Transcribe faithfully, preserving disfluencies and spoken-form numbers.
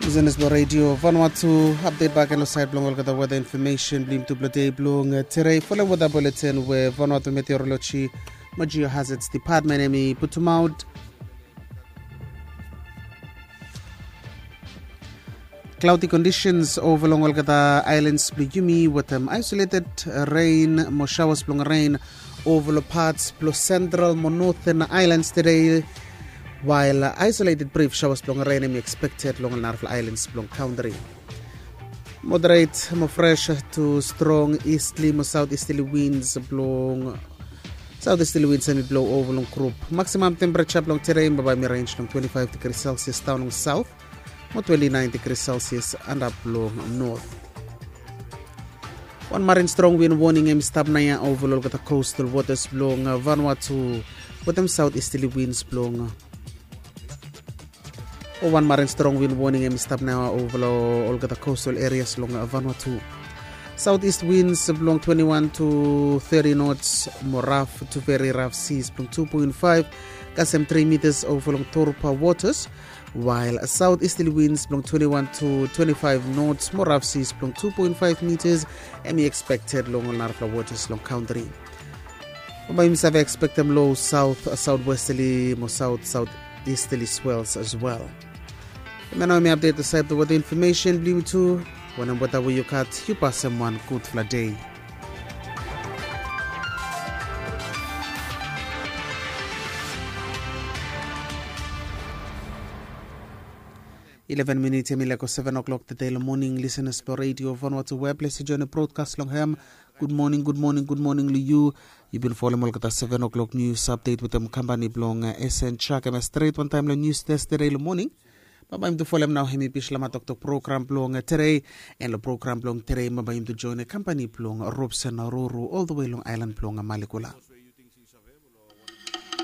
Lisenas blong redio Vanuatu, apdet bak gen long sait blong olgeta weta infomesen blong yumi tu blong dei blong tere. Folem weta buletin we Vanuatu Meteorology mo Geohazards Department hemi putumaot. Cloudy conditions ova long olgeta ailans blong yumi wetem isolated rain mo showers blong rain ova long parts blong central mo northern ailans today. While isolated brief showers blong rain hemi expected long narafala ailans blong country. Moderate mo fresh to strong easterly mo southeasterly winds blong southeasterly winds hemi blow ova long group. Maximum temperature blong today bambae hemi range long twenty-five degrees Celsius down long south mo twenty-nine degrees Celsius antap long north. Wan marin strong wind warning hemi stap naoia ova long olgeta coastal waters blong Vanuatu wetem southeasterly winds blong o wan marin strong wind warning hemi stap naoia ova long olgeta coastal areas long Vanuatu. Southeast winds blong twenty-one to thirty knots mo rough to very rough seas blong two point five kasem three meters ova long Torupa waters. While southeasterly winds blong twenty-one to twenty-five knots mo rough seas blong two point five meters hemi expected long ol narafala waters long country. Bambae yumi save expectem low south southwesterly mo south southeasterly swells as well. Hemia nao hemi update long sait blong weta infomesen blong yumi tu. Wanem weta we yu gat, yu pasem wan gudfala dei. Eleven minit hemi laek go seven o'clock tede long moning. Lisenas blong redio Vanuatu we ples yu join brodkas long hem. Gudmoning, gudmoning, gudmoning long yu. Yu bin folem olgeta seven o'clock nius apdet wetem kampani blong SN Chak hemia stret wantaem long nius testede long moning. Bambae yumi tu folem nao hemi Bislama Toktok program blong tede. An long program blong tede bambae yumi tu join kampani blong Robson Ruru oltawe long aelan blong Malikula.